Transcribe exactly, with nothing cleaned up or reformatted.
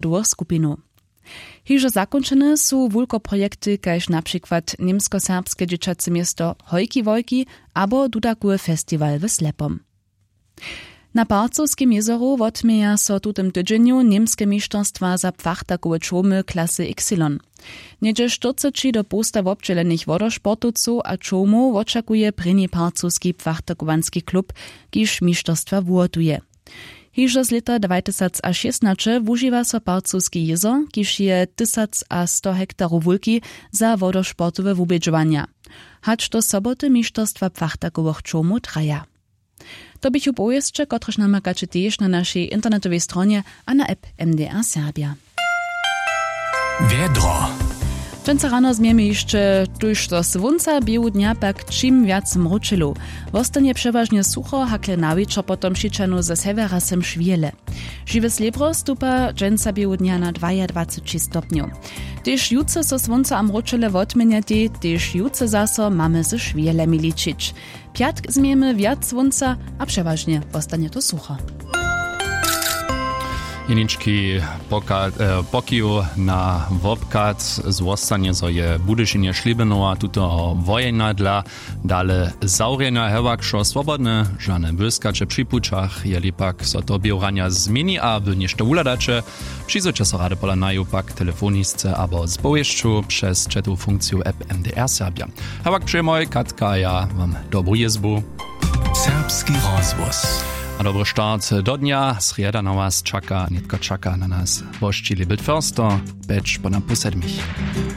dwóch skupinow. Hižo zakónčene su wulkoprojekty kaž na přikład němskoserbske dźěćace město hojki wojki abo dudakowy festiwal w slepom. Na parcowskim jězoru wotměja so w tutym tydźenju němske mišterstwa za płachtakowe čołmy klasy ypsilon. Něhdźe štyrceći do połsta wobdźělenych wodosportowcow a čołmow wočakuje prěni parcowski płachtakowanski klub, kiž mišterstwa wuhotuje. Hižo z lěta dwajtysacašěstnaće wužiwa so parcowski jězor, kiž je tysacasto hektarow wulki, za wodosportowe wubědźowanja, hač do soboty mišterstwa płachtakowych čołmow traja. To běchu powěsće, kotrež namakaće tež na našej internetowej stronje a na app M D R Serbia. Wjedro. Dźensa rano změjemy hišće tuž do słónca, běhu dnja pak čim wjac mróčelow. Wostanje přewažnje sucho, hakle na wječor potom přićahnu ze sewjera sem šwěle. Žiwy slěbro stupa dźensa běhu dnja na dwajadwaceći stopnjow. Tež jutře so słónco a mróčele wotměnjatej, tež jutře zaso mamy ze šwělemi ličić. Pjatk změjemy wjac słónca a přewažnje wostanje to sucho. Jenički poka-, e, pokiw na wobchad, zwostanje zo je Budyšinje Šlěbinowa tutoho wojena dla dale zawrjena. Hewak wšo swobodne, žane błyskaće při pućach, jeli pak so to běhu ranja změni a wy něšto wuhladaće, přizwójće so rady pola naju pak telefonisce abo z powěsću přez chatowu funkciju app M D R Serbia. Hewak přejemoj, Katka a ja wam dobru jězbu. Serbski rozhłos. A dobry start do dnja. Srjeda na was čaka, nětko čaka na nas. Wošći Libelt Förster, pjeć ponad pół sedmich.